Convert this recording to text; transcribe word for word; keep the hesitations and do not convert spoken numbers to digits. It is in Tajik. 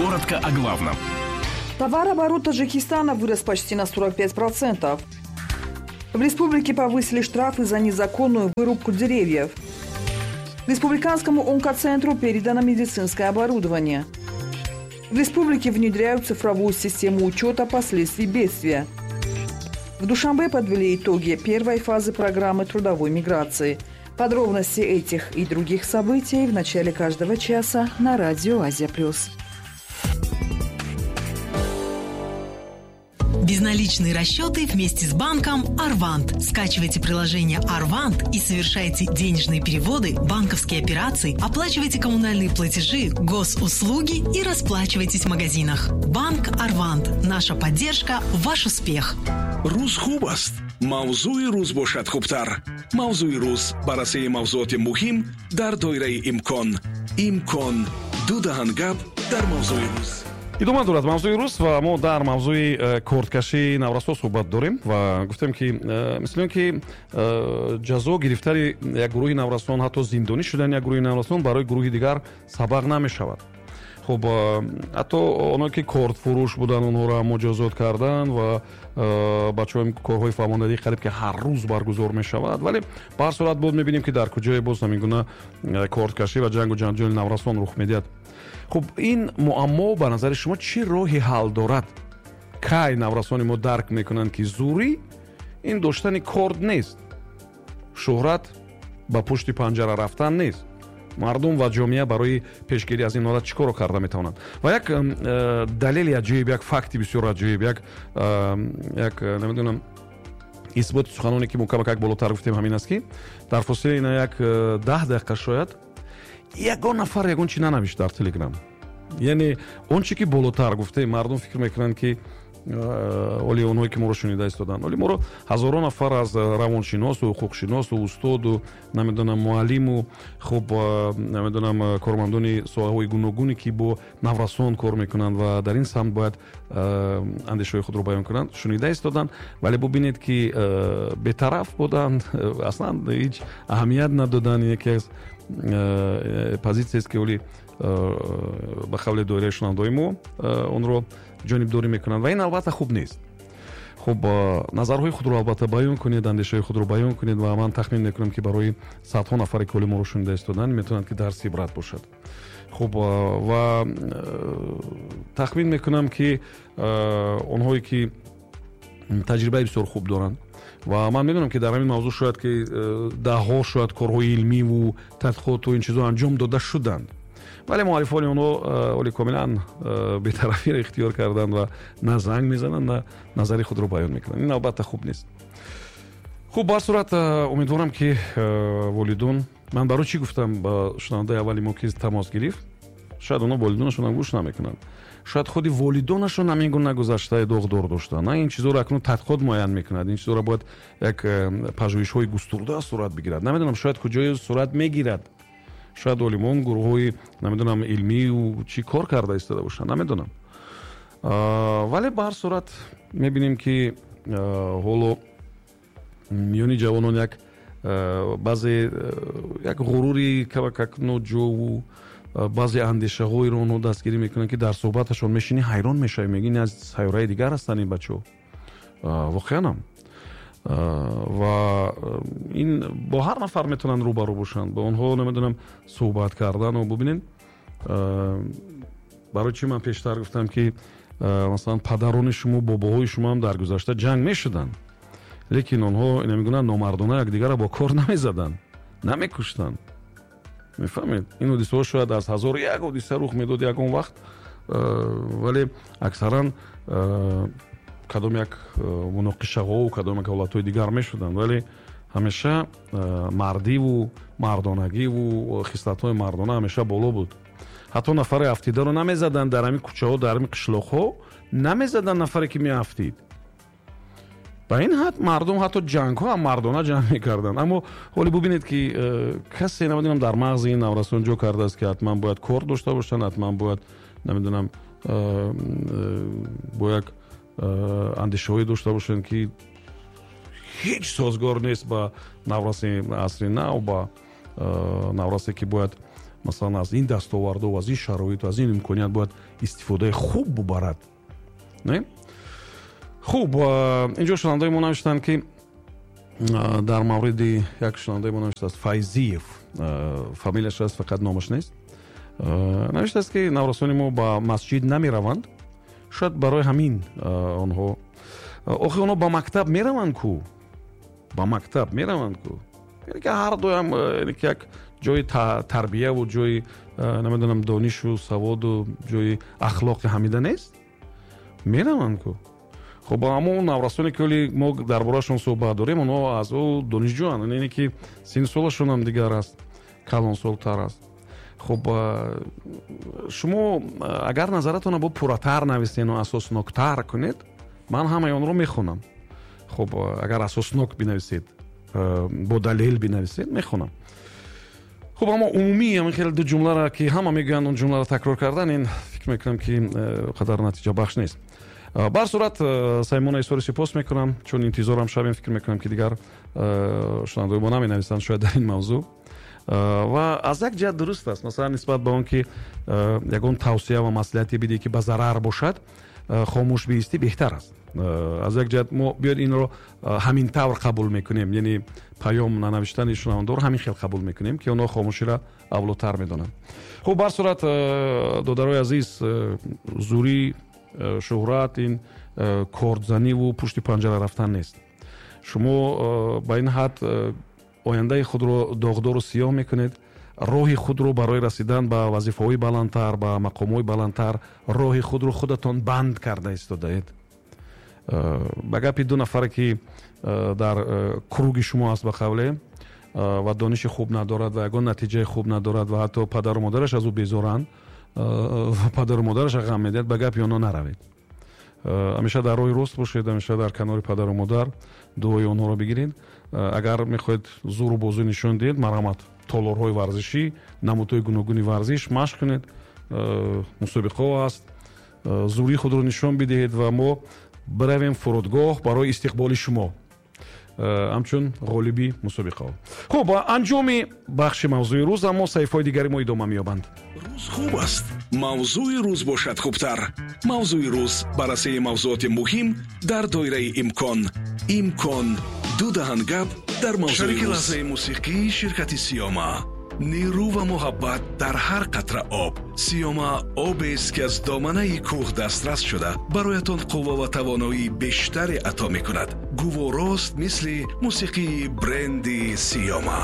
Коротко о главном. Товарооборот Таджикистана вырос почти на сорок пять процентов. В республике повысили штрафы за незаконную вырубку деревьев. Республиканскому онкоцентру передано медицинское оборудование. В республике внедряют цифровую систему учета последствий бедствия. В Душанбе подвели итоги первой фазы программы трудовой миграции. Подробности этих и других событий в начале каждого часа на радио «Азия Плюс». Безналичные расчеты вместе с банком «Арвант». Скачивайте приложение «Арвант» и совершайте денежные переводы, банковские операции, оплачивайте коммунальные платежи, госуслуги и расплачивайтесь в магазинах. Банк «Арвант». Наша поддержка – ваш успех. Рӯз хуб аст. Мавзӯи рӯз бошад хубтар. Мавзӯи рӯз баррасии мавзӯоти муҳим дар доираи имкон. Имкон. Ду даҳан гап дар мавзӯи рӯз. Идома дорад мавзӯи рӯз ва мо дар мавзӯи э, корткашии наврасо суҳбат дорем ва гуфтем, ки э, мисли он ки э, ҷазо гирифтани як гурӯҳи наврасон, ҳатто зиндонӣ шудани як гурӯҳи наврасон барои гурӯҳи дигар сабақ намешавад. Хуб, ҳатто оное ки кортфурӯш буданд, онҳоро муҷозот карданд ва бачаҳои корҳои фаҳмондадӣ қариб ки ҳар рӯз баргузор мешавад, вале ба ҳар сурат боз мебинем, ки дар куҷое боз ҳамин гуна корткашӣ ва ҷангу ҷанҷоли наврасон рух медиҳад. Хуб, ин муаммо ба назари шумо чӣ роҳи ҳал дорад? Кай наврасони мо дарк мекунанд, ки зӯрӣ ин доштани корт нест, шӯҳрат ба пушти панҷара рафтан нест? Мардум ва ҷомеа барои пешгирӣ аз ин ҳолат чӣ корро карда метавонанд? Ва як э, далели аҷоиб, як факти бисёр аҷоиб, як э, як намедонам, исботи суханоне ки мо камакак болотар гуфтем, ҳамин аст, ки дар фосилаи ина як даҳ дақиқа шояд ягон нафар ягон чи нанавишт дар Телеграм. Яъне он чи ки болотар гуфтем, мардум фикр мекунанд, ки оли онҳое ки моро шунида истоданд, оли моро ҳазорон нафар аз равоншиносу ҳуқуқшиносу устоду намедонам муаллиму, хуб, намедонам, кормандони соҳаҳои гуногуне ки бо наврасон кор мекунанд ва дар ин самт бояд андешаҳои худро баён кунанд, шунида истоданд, вале бубинед, ки бетараф буданд, аслан ҳеҷ аҳамият надоданд. Яке аз позитсияест, ки оли ба қавли доираи шунавандаҳои мо онро ҷонибдорӣ мекунанд ва ин албатта хуб нест. Хуб, назарҳои худро албатта баён кунед, андешаҳои худро баён кунед ва ман тахмин мекунам, ки барои садҳо нафаре ки оли моро шунида истоданд, метавонанд ки дарси ибрат бошад. Хуб, ва тахмин мекунам, ки онҳое ки таҷрибаи бисёр хуб доранд ва ман медонам, ки дар ҳамин мавзӯъ шояд ки даҳҳо шояд корҳои илмиву тадқиқоту ин чизҳо анҷом дода шуданд, вале муаллифони онҳо оли комилан бетарафиро ихтиёр карданд ва на занг мезананд, на назари худро баён мекунанд. Ин албатта хуб нест. Хуб, ба ҳар сурат умедворам, ки волидон, ман барои чӣ гуфтам ба шунавандаи аввали мо, ки тамос гирифт, шояд онҳо волидонашонам гӯш намекунанд, шояд худи волидонашон ҳамин гуна гузаштаи доғдор доштанд. На, ин чизҳоро акнун тадқиқот муайян мекунад, ин чизҳоро бояд як пажӯҳишҳои густурда сурат бигирад. Намедонам, шояд куҷое сурат мегирад, шояд олимон, гурӯҳҳои намедонам илмию чӣ кор карда истода бошанд, намедонам. Вале ба ҳар сурат мебинем, ки ҳоло миёни ҷавонон як баъзе як ғурури камакак ноҷову баъзе андешаҳоеро онҳо дастгирӣ мекунанд, ки дар суҳбаташон мешинӣ ҳайрон мешавӣ, мегӯӣ ин аз сайёраи дигар ҳастанд ин бачаҳо. Воқеанам. Ва ин бо ҳар нафар метавонанд рӯбарӯ бошанд, бо онҳо намедонам суҳбат кардану бубинед. Барои чӣ ман пештар гуфтам, ки масалан падарони шумо, бобоҳои шумо ҳам дар гузашта ҷанг мешуданд, лекин онҳо намегӯянд номардона якдигарро бо кор намезаданд, намекуштанд. Мефаҳмед, ин ҳодисаҳо шояд аз ҳазор як ҳодиса рух медод ягон вақт, вале аксаран кадом як муноқишаҳову кадом як ҳолатҳои дигар мешуданд, вале ҳамеша мардиву мардонагиву хислатҳои мардона ҳамеша боло буд. Ҳатто нафари афтидаро намезаданд дар ҳамин кӯчаҳо, дар ҳамин қишлоқҳо намезаданд нафаре ки меафтид. Ба ин ҳад мардум ҳатто ҷангҳо ҳам мардона ҷанг мекарданд. Аммо ҳоле бубинед, ки касе намедонам дар мағзи ин наврасон ҷо кардааст, ки ҳатман бояд кор дошта бошанд, ҳатман бояд намедонам бо як андешаҳое дошта бошанд, ки ҳеҷ созгор нест ба навраси асри нав, ба наврасе ки бояд Масалан, аз ин дастоварду, аз ин шароиту, аз ин имконият бояд истифодаи хуб бубарад. Не? Хуб, инҷо шунавандаи мо навиштанд, ки дар мавриди як шунавандаи мо навиштааст Файзиев, фамилияш аст, фақат номаш нест. Навиштааст, ки наврасони мо ба масҷид намераванд. Шояд барои ҳамин онҳо, охи онҳо ба мактаб мераванд ку? Ба мактаб мераванд ку? Яъне ки ҳар дуям як ҷои тарбияву ҷои намедонам донишу саводу ҷои ахлоқи ҳамида нест? Мераванд ку? Хуб, аммо наврасоне ки ҳоли мо дар бораашон суҳбат дорем, онҳо аз ӯ донишҷӯанд, яъне ки синну солашон ҳам дигар аст, калонсолтар аст. Хуб, шумо агар назаратонро бо пурратар нависену асосноктар кунед, ман ҳамаи онро мехонам. Хуб, агар асоснок бинависед, бо далел бинависед, мехонам. Хуб, аммо умумӣ ҳамин хеле ду ҷумларо ки ҳама мегӯянд, он ҷумларо такрор кардан, ин фикр мекунам ки қадар натиҷабахш нест. Бар сурат Саймона изҳори сипос мекунам, чун интизорам шавем, фикр мекунам ки дигар шунавандаои мо наменависанд шояд дар ин мавзӯъ. Ва аз як ҷиҳат дуруст аст, масалан нисбат ба он ки ягон тавсия ва маслиҳате бидиҳӣ ки ба зарар бошад, хомӯш биистӣ беҳтар аст. Аз як ҷиҳат мо биёд инро ҳамин тавр қабул мекунем, яъне паём нанавиштани шунавандаро ҳамин хел қабул мекунем, ки онҳо хомӯширо авлотар медонанд. Хуб, бар сурат додарои азиз, зурӣ, шӯҳрат ин кордзаниву пушти панҷара рафтан нест. Шумо ба ин ҳад ояндаи худро доғдору сиёҳ мекунед, роҳи худро барои расидан ба вазифаҳои баландтар, ба мақомҳои баландтар, роҳи худро худатон банд карда истодаед. Ба гапи ду нафаре ки дар круги шумо аст ба қавле ва дониши хуб надорад ва ягон натиҷаи хуб надорад ва ҳатто падару модараш аз ӯ безоранд ва падару модараш ғам медиҳад, ба гапи онҳо наравед. Ҳамеша дар роҳи рост бошед, ҳамеша дар канори падару модар дуои онҳоро бигиред. Агар мехоҳед зуру бозу нишон диҳед, марҳамат, толорҳои варзишӣ, намудҳои гуногуни варзиш машқ кунед, мусобиқаҳо аст, зурии худро нишон бидиҳед ва мо биравем фурудгоҳ барои истиқболи шумо ҳамчун ғолиби мусобиқаҳо. Хуб, анҷоми бахши мавзӯи рӯз, аммо саҳифаҳои дигари мо идома меёбанд. Рӯз хуб аст, мавзӯи рӯз бошад хубтар. Мавзӯи рӯз баррасии мавзӯоти муҳим дар доираи имкон. Имкон ду даҳан гап дар мавзӯи шарики лаҳзаи мусиқӣ ширкати Сиёма. Нерӯ ва муҳаббат дар ҳар қатра об. Сиёма обест ки аз доманаи кӯҳ дастрас шуда бароятон қувва ва тавоноии бештаре ато мекунад. Гуворост мисли мусиқии бренди Сиёма.